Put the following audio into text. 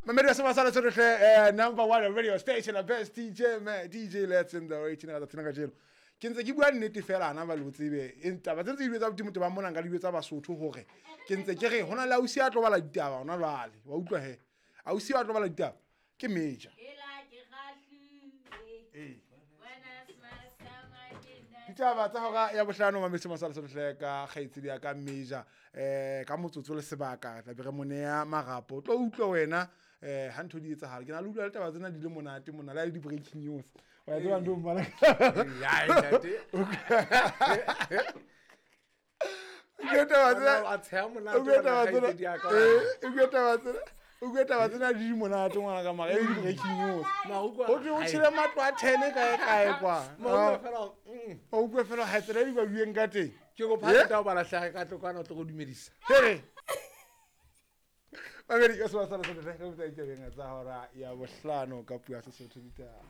Mamedi wa Semasala Sotohle, number one radio station, the best DJ, man, DJ Let's in the rating ka tsatsi la kajeno. Ke ntse ke bua nnete fela ana ba le tsebe. E taba tse tse di tsa Modimo ba mona nka di tsa Basotho hore ke ntse ke re hona le ausi a tlo bala ditaba hona jwale. Wa utlwa he. Ausi a tlo bala ditaba ke major. Ee. Ditaba tsa hora ya bohlano mametse Masala Sotohle ka kgaitsedi ya ka major ka motsotso le sebaka tla be re mo neya marapo. Tlo utlwa wena ha ntho di etsahala. Ke na le utlwa le taba tsena di le monate mona le di breaking news. Wa tseba ntho mmala. Ya, ntate. Utlwa taba tsena. A tsheha monate O bua taba wena tsena. kgaitsedi ya ka. O bua taba tsena. O bua taba tsena di monate ngwana ka mara e di breaking news. Maruko a- Ho thwe o tshele matlo a 10 kae kae kwa. Maruko fela, O utlwe fela ha tsela di ba bueng ka teng. Ke kopa Eh? ha o bala hlaha ka tlo kwana o tlo go dumedisa. Here. Mamedi ka sebasala sa re re botsa ditabeng tsa hora ya bohlano ka puo ya Sesotho ditaba.